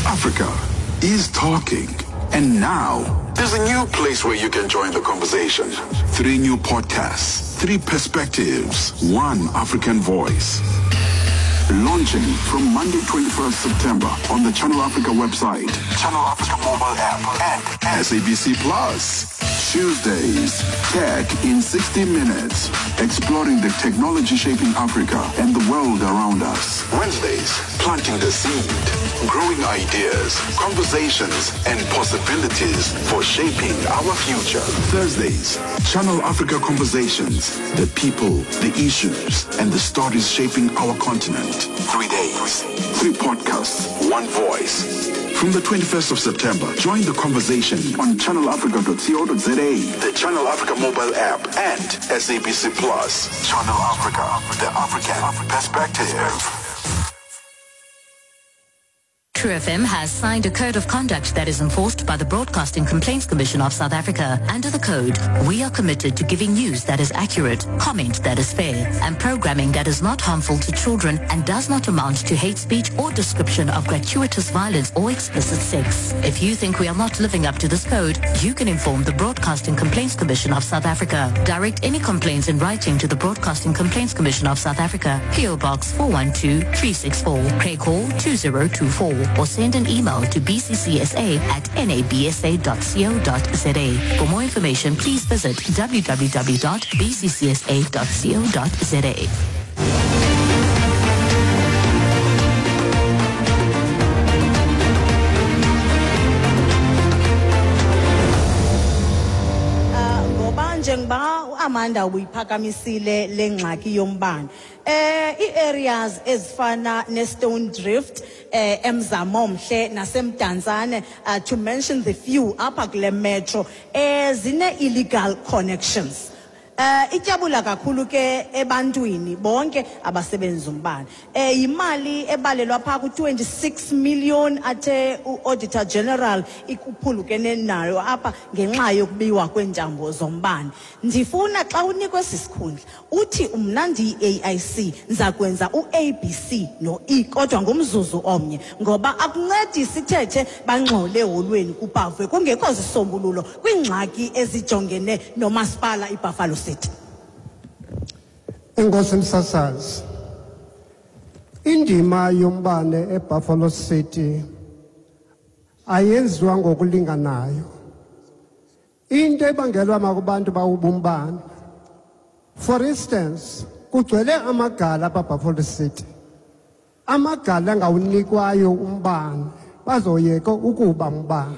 Africa is talking. And now, there's a new place where you can join the conversation. Three new podcasts, three perspectives, one African voice. Launching from Monday, 21st September on the Channel Africa website, Channel Africa mobile app, and SABC Plus. Tuesdays, Tech in 60 Minutes, exploring the technology shaping Africa and the world around us. Wednesdays, planting the seed, growing ideas, conversations, and possibilities for shaping our future. Thursdays, Channel Africa Conversations, the people, the issues, and the stories shaping our continent. 3 days, three podcasts, one voice. From the 21st of September, join the conversation on channelafrica.co.za, the Channel Africa mobile app, and SABC Plus. Channel Africa, the African perspective. True FM has signed a code of conduct that is enforced by the Broadcasting Complaints Commission of South Africa. Under the code, we are committed to giving news that is accurate, comment that is fair, and programming that is not harmful to children and does not amount to hate speech or description of gratuitous violence or explicit sex. If you think we are not living up to this code, you can inform the Broadcasting Complaints Commission of South Africa. Direct any complaints in writing to the Broadcasting Complaints Commission of South Africa, PO Box 412 364, Craig Hall 2024, or send an email to bccsa@nabsa.co.za. For more information, please visit www.bccsa.co.za. Ngoba njengoba uAmanda uyiphakamisile lengxaki yombane, ii-areas ezifana neStone Drift, eMzamomhle naseMdantsane, to mention the few apha kule metro, zine illegal connections. Ityabula kakhulu ke ebantwini bonke abasebenzisa umbane. Yimali ebalelwa pha ku-26 million athe u-Auditor General ikuphulukene nayo apha ngenxa yokubiwa kweentambo zombane. Ndifuna xa unikwe esi sikhundla uthi, "Mna ndiyi-AIC, ndiza kwenza u-A B C no-E," kodwa ngumzuzu omnye, ngoba akuncedi sithethe bangxole eholweni kupavwe kungekho zisombululo kwiingxaki ezijongene nomasipala iBuffalo City. Enkosi, msasazi. Indima yombane eBuffalo City ayenziwa ngokulinganayo. Into ebangelwa makubantu bawubumbane. For instance, kugcwele amagala apha Buffalo City. Amagala angawunikwayo umbane bazoyeka ukuba umbane.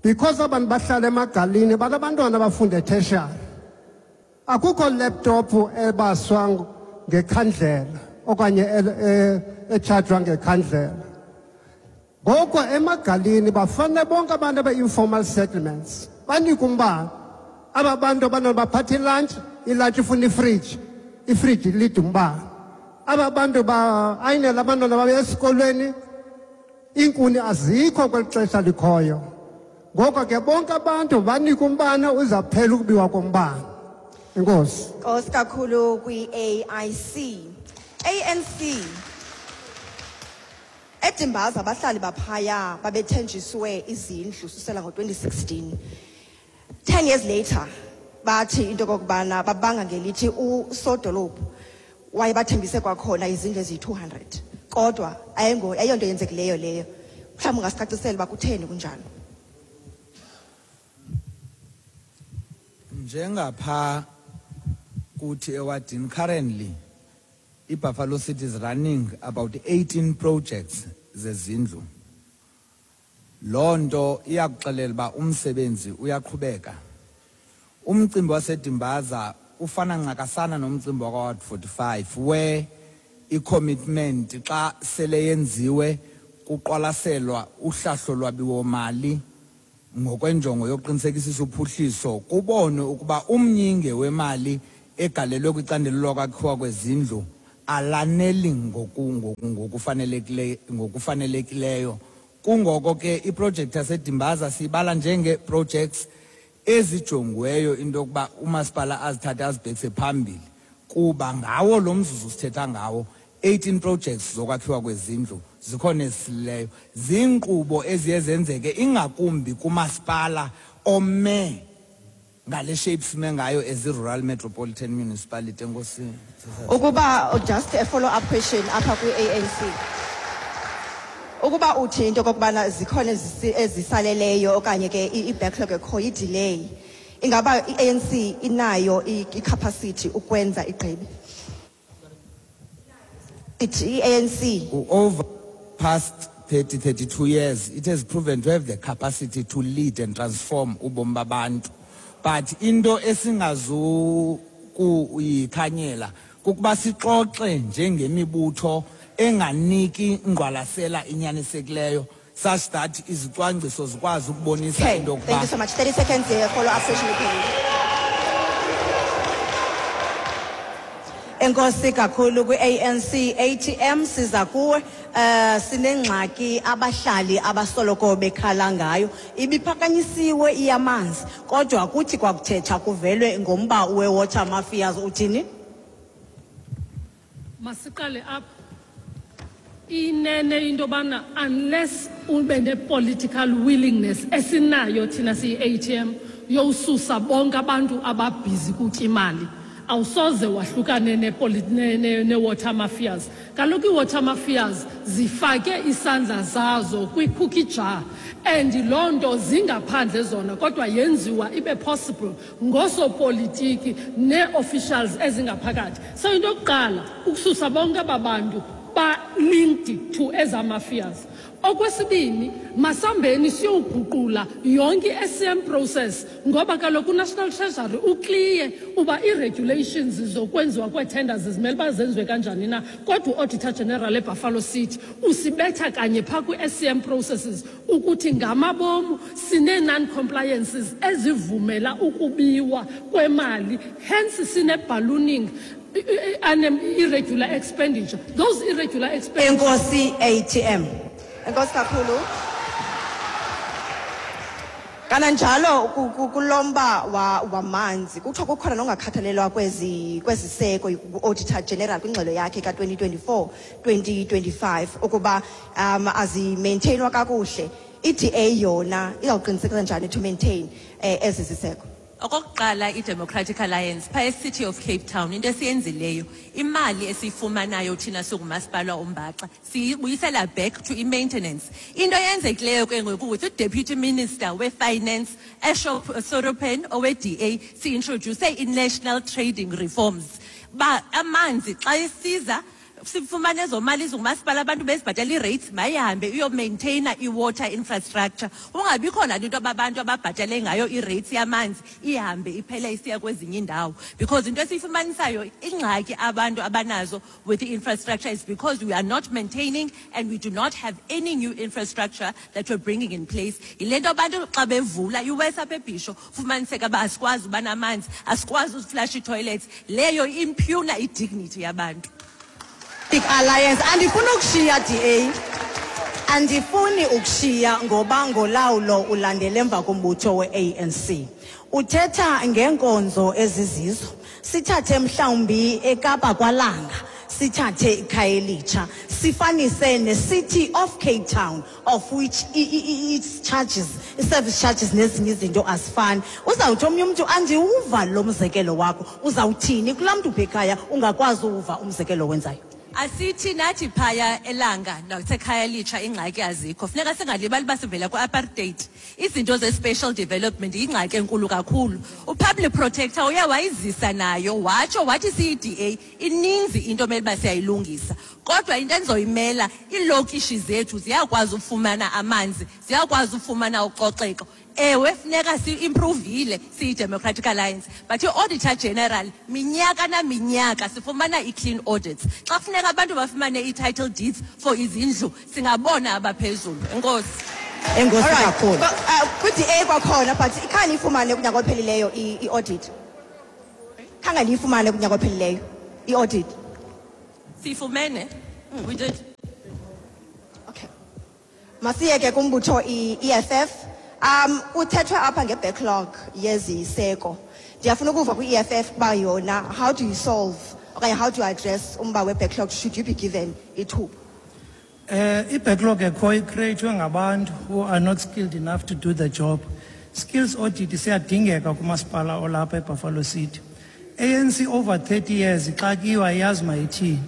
Because abantu bahlala emagalini banabantwana abafunda e-tertiary. Akukho laptop ebaswa ngekhandlela okanye echajwa ngekhandlela. Ngoko emagalini bafanele bonke abantu abe-informal settlements banikwe umbane. Aba bantu abantwana baphatha ilantshi, ilantshi ifuna ifriji, ifriji ilida umbane. Aba bantu ba-ayinela abantwana babe esikolweni, iinkuni azikho kweli xesha likhoyo. Ngoko ke bonke abantu banikwe umbane, uzaphela ukubiwa kombane. Enkosi. Nkosi kakhulu kwi-AIC. ANC eDimbaza, abahlali baphaya babethenjiswe izindlu susela ngo-2016. 10 years later bathi into kokubana babanga ngelithi usodolophu wayebathembise kwakhona izindlu eziyi-200, kodwa ayonto yenzekileyo leyo. Mhlawumbi ungasicacisela uba kutheni kunjalo? Njengapha kuthi ewadini, currently iBuffalo City is running about 18 projects zezindlu. Loo nto iyakuxelela uba umsebenzi uyaqhubeka. Umcimbi waseDimbaza ufana ncakasana nomcimbi wakwa-Ward 45, where i-commitment xa sele yenziwe kuqwalaselwa uhlahlo lwabiwomali ngokwenjongo yokuqinisekisisa uphuhliso, kubonwe ukuba umnyinge wemali egalelwe kwicandelo lokwakhiwa kwezindlu alaneli ngokufanelekileyo. Kungoko ke iprojekthi yaseDimbaza siyibala njenge-projects ezijongiweyo into yokuba umasipala azithathe azibhekise phambili, kuba ngawo lo mzuzu sithetha ngawo 18 projects zokwakhiwa kwezindlu zikhona ezisilileyo. Ziinkqubo eziye zenzeke ingakumbi kumasipala ome ngale shape sime ngayo as i-rural metropolitan municipality. Enkosi. Ukuba just a follow up question apha kwi-ANC, ukuba uthi into okokubana zikhona ezisaleleyo okanye ke i-backlog ekhoyo, i-delay, ingaba i-ANC inayo i-capacity ukwenza igqibe ithi i-ANC? Over past 30 32 years, it has proven to have the capacity to lead and transform ubomi babantu, but into esingazukuyikhanyela kukuba sixoxe njengemibutho enganiki ngqwalasela inyanisekileyo such that izicwangciso zikwazi ukubonisa into Thank you so much. 30 seconds here, follow up question iphelile. Enkosi kakhulu kwi-ANC. ATM, siza kuwe. Sinengxaki abahlali abasoloko bekhala ngayo, ibiphakanyisiwe iyamanzi, kodwa kuthi kwakuthetha kuvelwe ngomba we-water mafias. Uthini? Masiqale apha. Inene into yobana unless ube ne-political willingness esinayo thina siyi-ATM yowususa bonke abantu ababhizi kutya imali, awusoze wahlukane ne-water mafias. Kaloku ii-water mafias zifake isandla zazo kwi-cookie jar, and loo nto zingaphandle zona, kodwa yenziwa ibe possible ngosopolitiki nee-officials ezingaphakathi. So into yokuqala ukususa bonke aba bantu ba-linked to eza mafias. Okwesibini, masambeni siyowuguqula yonke i-SCM process, ngoba kaloku uNational Treasury u-clear uba ii-regulations zokwenziwa kwee-tenders zimele uba zenziwe kanjani na, kodwa u-Auditor General eBuffalo City usibetha kanye phaa kwi-SCM processes ukuthi ngamabomu sinee-non-compliances ezivumela ukubiwa kwemali, hence sine-ballooning irregular expenditure, those irregular expenditure. Enkosi, ATM. Enkosi kakhulu. Kananjalo kulomba wamanzi kuthiwa kukhona nongakhathalelwa kweziseko ku-Auditor General kwingxelo yakhe ka-2024 2025 ukuba azimaintainwa kakuhle. I-DA yona izawuqinisekisa njani to maintain ezi ziseko? Okokuqala, i-Democratic Alliance phaa e-City of Cape Town, into esiyenzileyo, imali esiyifumanayo thina singumasipala ombaxa siyibuyisela back to i-maintenance. Into eyenzekileyo ke ngoku with uDeputy Minister we-Finance Ashok Sarupen owe-DA, si-introduce i-national trading reforms ba amanzi xa esiza sifumane ezo mali zingumasipala, abantu bezibhatala ii-rates, mayihambe iyomaintaina i-water infrastructure, kungabikho nale nto ababantu ababhatale ngayo i-rates yamanzi ihambe iphele isiya kwezinye iindawo, because into esiyifumanisayo, ingxaki abantu abanazo with the infrastructure is because we are not maintaining and we do not have any new infrastructure that we're bringing in place. Yile nto abantu xa bevula iwesi apha eBhisho fumaniseka uba asikwazi uba namanzi, asikwazi uziflasha ii-toilets, leyo impugna i-dignity yabantu. Alliance, andifuni ukushiya DA, andifuni ukushiya ngoba ngolawulo ulandele emva kombutho we-ANC. Uthetha ngeenkonzo ezizizo, sithathe mhlawumbi eKapa kwaLanga, sithathe iKhayelitsha, sifanise ne-City of Cape Town, of which its charges, i-service charges nezinye izinto azifani. Uzawuthi omnye umntu, "Andiwuva lo mzekelo wakho." Uzawuthini kulaa mntu pha ekhaya ungakwazi uwuva umzekelo wenzayo? Asithi nathi phaya eLanga naseKhayelitsha ingxaki azikho. Funeka singalibali uba sivela kwi-apartheid. Izinto ze-spatial development yingxaki enkulu kakhulu. U-Public Protector uye wayizisa nayo, watsho wathi siyi-DA ininzi into omele uba siyayilungisa, kodwa into endizoyimela, iilokishi zethu ziyakwazi ufumana amanzi, ziyakwazi ufumana ucoceko. Ewe, funeka si-improvile siyi-Democratic Alliance, but i-Auditor General minyaka naminyaka sifumana i-clean audits. Xa funeka abantu bafumane ii-title deeds for izindlu, singabona abaphezulu. Enkosi. Enkosi Alright. kakhulu. Kwi-DA kwakhona, but ikhange ifumane kunyaka ophelileyo i-audit, khange ndiyifumane kunyaka ophelileyo i-audit. Siyifumene, we did. Okay, masiyeke kumbutho i-EFF. Kuthethwe apha nge-backlog yeziseko. Ndiyafuna ukuva kwi-EFF uba yona, how do you solve Okanye how do you address umba we-backlog should you be given ithuba? I-backlog ekhoyo icreatwe ngabantu who are not skilled enough to do the job. Skills audit siyadingeka kumasipala olapha eBuffalo City. ANC over 30 years ixakiwe, ayiyazi mayithini.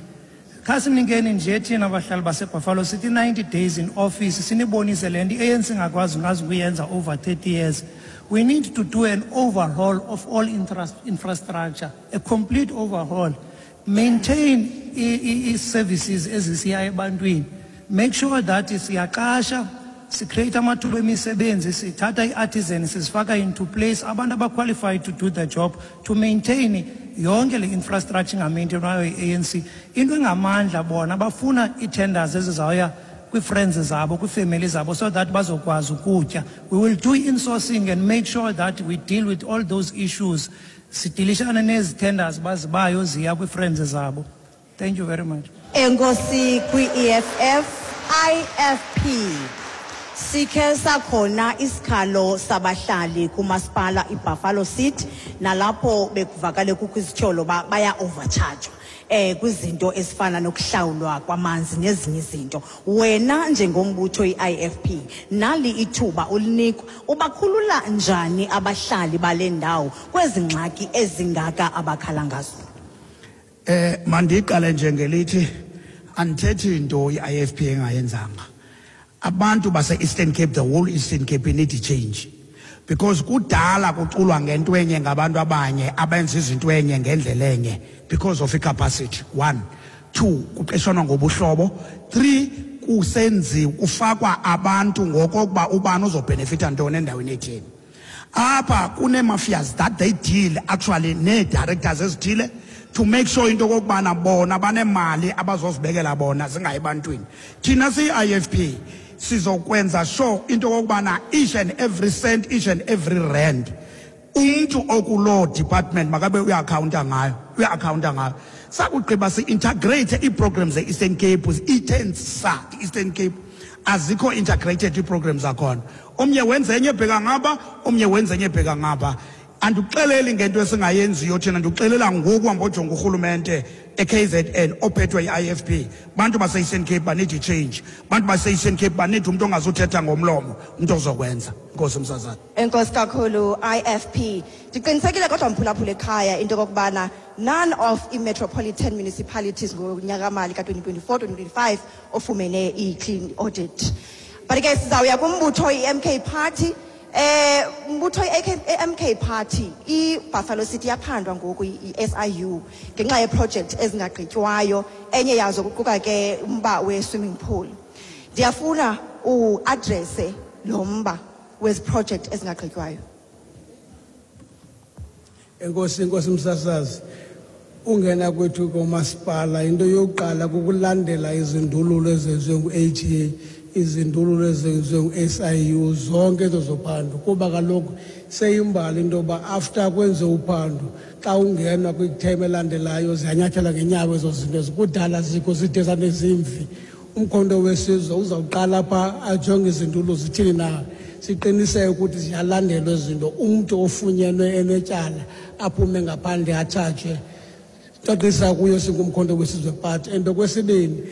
Khasinikeni nje thina bahlali baseBuffalo City 90 days in office, sinibonise le nto i-ANC ingakwazi ngazi ukuyenza over 30 years. We need to do an overhaul of all infrastructure, a complete overhaul. Maintain i-services ezisiya ebantwini. Make sure that siyaqasha, sicreate amathuba emisebenzi, sithatha i-artisan sizifaka into place, abantu abaqualified to do the job, to maintain yonke le infrastructure ingamaintainwayo yi-ANC. Into engamandla, bona bafuna ii-tenders ezizawuya kwii-friends zabo, kwiifemeli zabo, so that bazokwazi ukutya. We will do insourcing and make sure that we deal with all those issues. Sidilishane nezi tenders bazibayo ziya kwii-friends zabo. Thank you very much. Enkosi kwi-EFF. IFP, sikhe sakhona isikhalo sabahlali kumasipala iBuffalo City, nalapho bekuvakale kukho izityholo ba baya overcharge kwizinto ezifana nokuhlawulwa kwamanzi nezinye izinto. Wena njengombutho i-IFP, nali ithuba ulinikwa, ubakhulula njani abahlali bale ndawo kwezi ngxaki ezingaka abakhala ngazo? Mandiqale nje ngelithi andithethi into i-IFP engayenzanga. Abantu base-Eastern Cape, the whole Eastern Cape need change, because kudala kuculwa ngento enye ngabantu abanye abenza izinto enye ngendlela enye because of i-capacity. One, two, kuqeshwana ngobuhlobo. Three, kusenziwa kufakwa abantu ngokokuba ubani uzobhenefitha ntoni endaweni etheni. Apha kunee-mafias that they deal actually nee-directors ezithile to make sure into okokubana bona banemali abazozibekela bona zingayi ebantwini. Thina siyi-IFP sizokwenza sure into okokubana each and every cent, each and every rand, umntu okuloo department makabe uya-accounta ngayo, uya-accounta ngayo. Sakugqiba si-integrate ii-programs ze-Eastern Cape. Ithe sa i-Eastern Cape azikho integrated ii-programs zakhona. Omnye wenza enye ebheka ngapha, omnye wenza enye ebheka ngapha. Andikuxeleli ngento esingayenziyo thina, ndikuxelela ngoku hamba ojonga urhulumente e-KZN ophethwe yi-IFP. Bantu base-Eastern Cape baneed i-change. Bantu base-Eastern Cape baneed umntu ongazuthetha ngomlomo, umntu ozokwenza. Nkosi msazana. Enkosi kakhulu, IFP. Ndiqinisekile kodwa, mphulaphula ekhaya, into okokubana none of i-metropolitan municipalities ngonyaka-mali ka-2024 2025 ofumene i-clean audit. But ke sizawuya kumbutho i-MK Party. Mbutho i-MK Party, i-Buffalo City yaphandwa ngoku i-SIU ngenxa yeproject ezingagqitywayo, enye yazo kuquka ke umba we-swimming pool. Ndiyafuna uaddresse lo mba wezi project ezingagqitywayo. Enkosi, inkosi msasazi. Ungena kwethu komasipala, into yokuqala kukulandela izindululo ezenziwe ngu-ATA, izindululo ezenziwe ngu-SIU, zonke ezo zophando, kuba kaloku seyimbali into yoba after kwenziwe uphando, xa ungenwa kwithemu elandelayo ziyanyathela ngenyawo ezo zinto ezikudala zikho zide zanezimvi. Umkhonto Wesizwe uzawuqala phaa ajonge izindululo zithini na, siqiniseke ukuthi ziyalandelwa ezi zinto, umntu ofunyenwe enetyala aphume ngaphandle atshajwe. Cacisa kuyo singumkhonto Wesizwe Party. And okwesibini,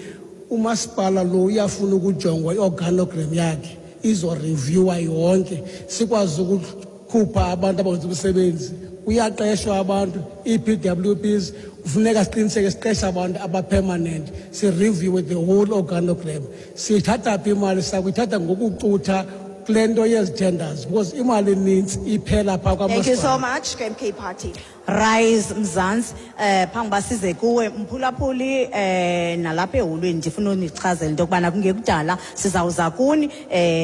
umasipala lo uyafuna ukujongwa i-organogram yakhe, izoreviewa yonke, sikwazi ukukhupha abantu abenza umsebenzi. Kuyaqeshwa abantu, ii-PWPs, kufuneka siqiniseke siqesha abantu abapermanent, sireviewe the whole organogram. Siyithatha phi imali? Sakuyithatha ngokucutha kule nto yezi tenders, because imali enintsi iphela phaa. Thank you so kwamasipala. much, MK Party. Rise Mzansi, phambi uba size kuwe mphulaphuli nalapha eholweni, ndifuna unichazela into yokubana kungekudala sizawuza kuni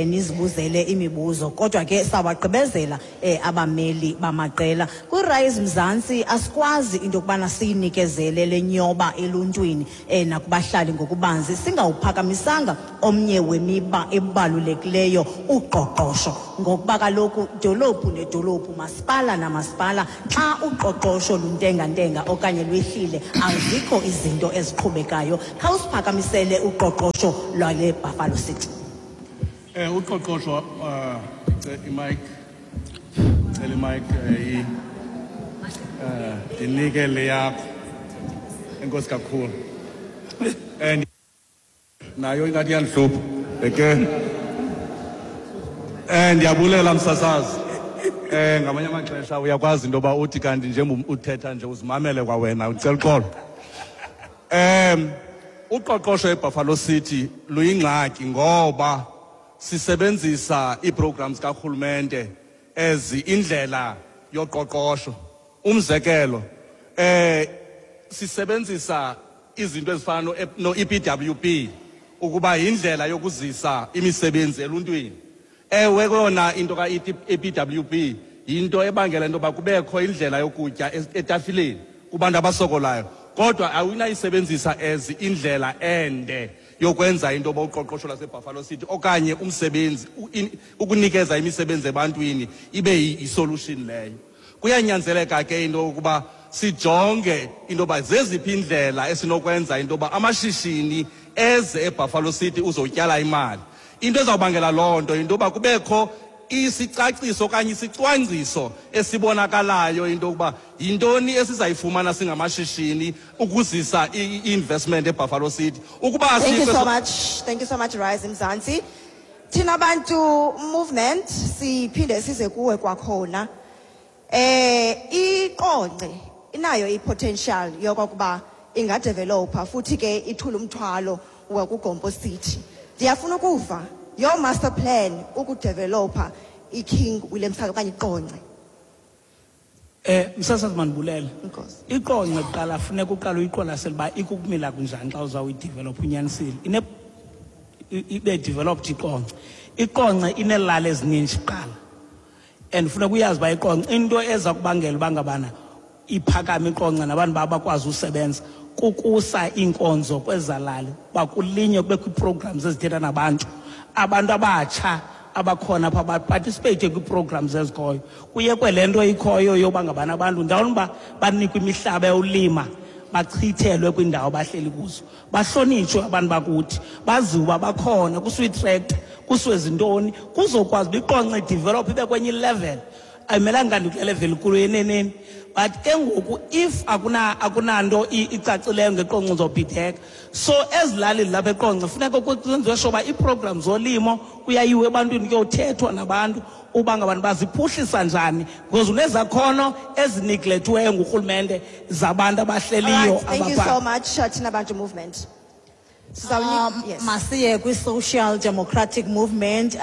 nizibuzele imibuzo, kodwa ke sawagqibezela abameli bamaqela. Kwi-Rise Mzansi asikwazi into yokubana siyinikezele le nyoba eluntwini nakubahlali ngokubanzi singawuphakamisanga omnye wemiba ebalulekileyo, uqoqosho, ngokuba kaloku dolophu nedolophu, masipala namasipala, xa uqoqosho luntengantenga okanye lwehlile, azikho izinto eziqhubekayo. Khawusiphakamisele uqoqosho lwale Buffalo City. Uqoqosho, imic, cela imic, ndinike le yakho. Enkosi kakhulu. And nayo ingathi iyandihlupha. Ke ndiyabulela msasazi. Ngamanye amaxesha uyakwazi into yoba uthi kanti njengoba uthetha nje uzimamele kwawena, ucela uxolo. Uqoqosho eBuffalo City luyingxaki ngoba sisebenzisa ii-programs karhulumente as indlela yoqoqosho. Umzekelo, sisebenzisa izinto ezifana no-EPWP ukuba yindlela yokuzisa imisebenzi eluntwini. Ewe kona into ka-EPWP yinto ebangela into yoba kubekho indlela yokutya etafileni kubantu abasokolayo, kodwa awunayisebenzisa as indlela ende yokwenza into yoba uqoqosho lwaseBuffalo City okanye umsebenzi, ukunikeza imisebenzi ebantwini ibe yi-solution leyo. Kuyanyanzeleka ke into yokuba sijonge into yoba zeziphi indlela esinokwenza into yoba amashishini eze eBuffalo City uzotyala imali. Into ezawubangela loo nto yinto yoba kubekho isicaciso okanye isicwangciso esibonakalayo into yokuba yintoni esizayifumana singamashishini ukuzisa i-investment eBuffalo City. Ukuba Thank you asikho so much. Thank you so much, Rise Mzansi. Thina Bantu Movement siphinde size kuwe kwakhona. IQonce inayo i-potential yokokuba ingadevelopa futhi ke ithule umthwalo wakuGompo City. Ndiyafuna ukuva your master plan ukudevelopa iKing William Town okanye iQonce. Msasazi, mandibulele. Enkosi. IQonce kuqala funeka uqale uyiqwalasele uba ikukumila kunjani xa uzawuyidevelopha unyanisile. Ibe developed iQonce. IQonce ineelali ezininji kuqala. And funeka uyazi uba iQonce into eza kubangela uba ngabana iphakame iQonce nabantu bakwazi usebenza kukusa iinkonzo kwezalali, uba kulinywe kubekho ii-programs ezithetha nabantu. Abantu abatsha abakhona apha baparticipate kwii-programs ezikhoyo. Kuyekwe le nto ikhoyo yoba ngabana abantu ndawoni uba banikwe imihlaba yolima, bachithelwe kwiindawo abahleli kuzo, bahlonitshwe abantu bakuthi, baziwe uba bakhona, kusiwe itractor, kusiwe zintoni, kuzokwazi uba iQonce idevelophe ibe kwenye ilevel. Ayimelanga kanti kule level ikulu eneneni. But ke ngoku if akunanto icacileyo ngeQonce uzobhideka. So ezilalini lapha eQonce funeka kwenziwe sure uba ii-programs zolimo kuyayiwa ebantwini kuyothethwa nabantu uba ngabantu baziphuhlisa njani, because unezakhono ezineglectiweyo ngurhulumente zabantu abahleliyo All right, thank you abapha. so much, Thina Bantu Movement. Yes. Masiye kwi-Social Democratic Movement,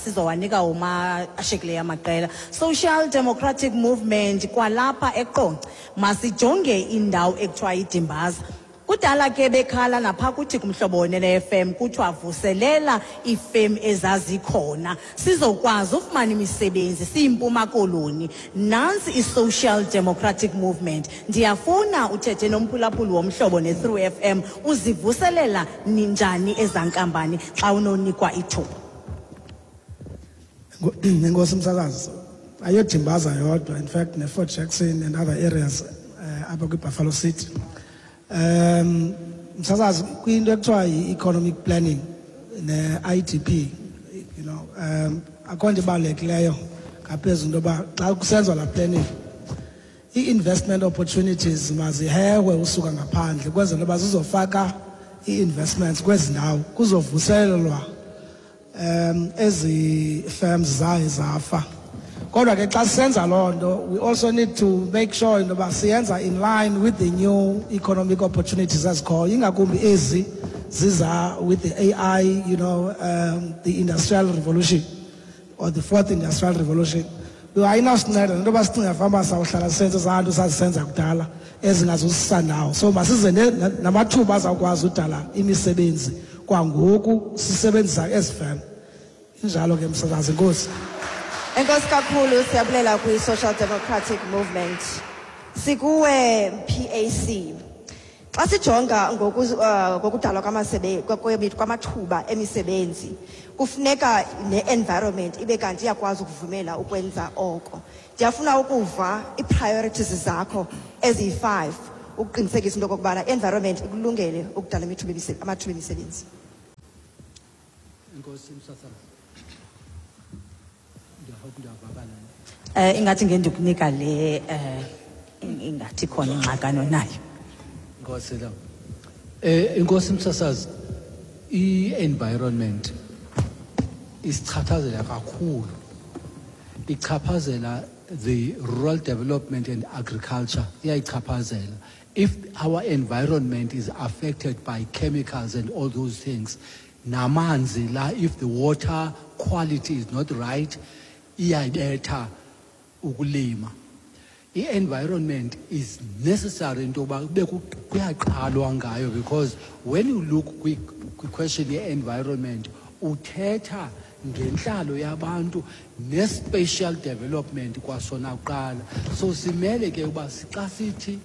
sizowanika uma ashekileyo amaqela. Social Democratic Movement kwalapha eQonce, masijonge indawo ekuthiwa iDimbaza. Kudala ke bekhala napha kuthi kumhlobo wonene FM kuthiwa vuselela iifem ezazikhona sizokwazi ufumana imisebenzi siyiMpuma Koloni. Nantsi i-Social Democratic Movement. Ndiyafuna uthethe nomphulaphuli womhlobo ne-Through FM, uzivuselela ninjani ezankampani xa unonikwa ithuba? Enkosi msakazi, ayodimbaza yodwa, in fact ne-Fort Jackson and other areas apha kwi-Buffalo City. Msasazi, kwinto ekuthiwa yi-economic planning ne-IDP, akho nto ibalulekileyo ngaphezu into yoba xa kusenziwa laa planning, ii-investment opportunities mazihehwe usuka ngaphandle kwenzela uba zizofaka ii-investments kwezi ndawo, kuzovuselelwa ezi firms zaye zafa. Kodwa ke xa sisenza loo nto, we also need to make sure into yoba siyenza in line with the new economic opportunities ezikhoyo, ingakumbi ezi ziza with the AI, the industrial revolution or the fourth industrial revolution. Ayinawusinceda nento yoba sicinga fanuba sawuhlala sisenze ezaa nto sazisenza kudala ezingazusisa ndawo. So masize namathuba azawukwazi udala imisebenzi kwangoku sisebenzisa ezi firm. Injalo ke msasazi, enkosi. Enkosi kakhulu, siyabulela kwi-Social Democratic Movement. Sikuwe PAC. Xa sijonga ngokudalwa kwamathuba emisebenzi, kufuneka ne-environment ibe kanti iyakwazi ukuvumela ukwenza oko. Ndiyafuna ukuva ii-priorities zakho eziyi-5 ukuqinisekisa into okokubana i-environment ikulungele ukudala amathuba emisebenzi. Enkosi msasazi. Ndiyahope ndiyavakala. Ingathi ngendikunika le ingathi khona ingxakano nayo. Enkosi la. Inkosi msasazi, i-environment isichaphazela kakhulu. Ichaphazela the rural development and agriculture, iyayichaphazela. If our environment is affected by chemicals and all those things, namanzi la, if the water quality is not right, iyayibetha ukulima. I-environment is necessary into yoba kube kuyaqalwa ngayo, because when you look kwi-question ye-environment, uthetha ngentlalo yabantu ne-spatial development kwasona kuqala. So simele ke uba xa sithi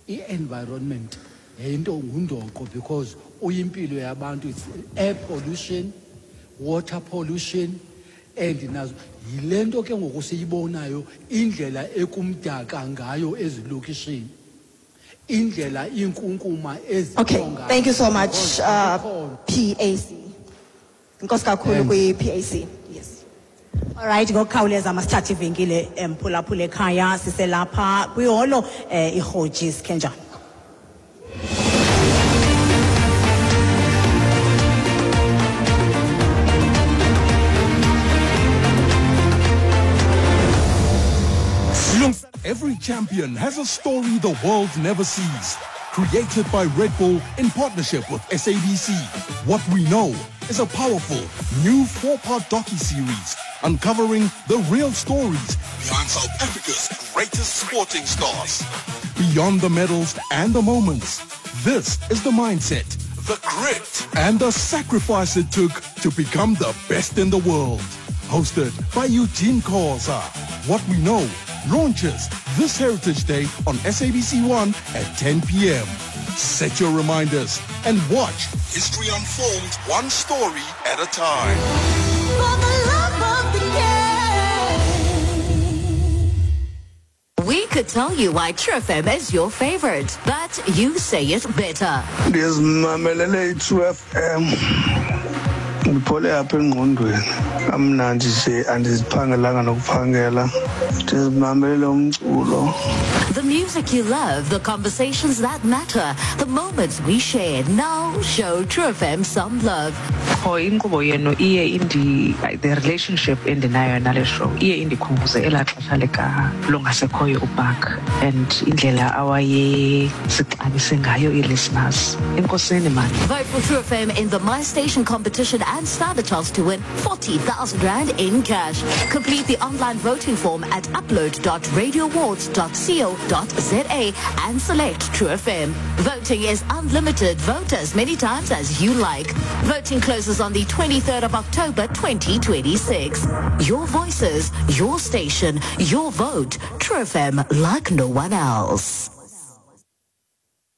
i-environment yinto ngundoqo, because uyimpilo yabantu. It's air pollution, water pollution, and nazo yile nto ke ngoku siyibonayo, indlela ekumdaka ngayo ezilokishini, indlela inkunkuma. Okay, thank you so much, PAC. Enkosi kakhulu kwi-PAC. Yes. Alright, ngokukhawuleza masithathe ivenkile, emphulaphula ekhaya, siselapha kwiholo iRhoji Sikhenjana. Every champion has a story the world never sees. Created by Red Bull in partnership with SABC. What We Know is a powerful new four-part docu-series uncovering the real stories behind South Africa's greatest sporting stars. Beyond the medals and the moments, this is the mindset, the grit, and the sacrifice it took to become the best in the world. Hosted by Eugene Khoza. What We Know launches this Heritage Day on SABC 1 at 10 p.m. Set your reminders and watch history unfold one story at a time. For the love of the game. We could tell you why True FM is your favorite, but you say it better. Ndizimamelele i-True FM, ndiphole apha engqondweni, kamnandi nje, andiziphangelanga nokuphangela, ndizimamelele umculo. The music you love, the conversations that matter, the moments we share. Now show True FM some love. Qho inkqubo yenu iye indi the relationship endinayo nale show iye indikhumbuze elaa xesha lika longasekhoyo uBark and indlela awayesixabise ngayo ii-listeners. Enkosini mani. Vote for True FM in the My Station competition and stand a chance to win 40,000 Rand in cash. Complete the online voting form at upload.radioawards.co.za and select True FM. Voting is unlimited. Vote as many times as you like. Voting closes on the 23rd of October 2026. Your voices, your station, your vote. True FM like no one else.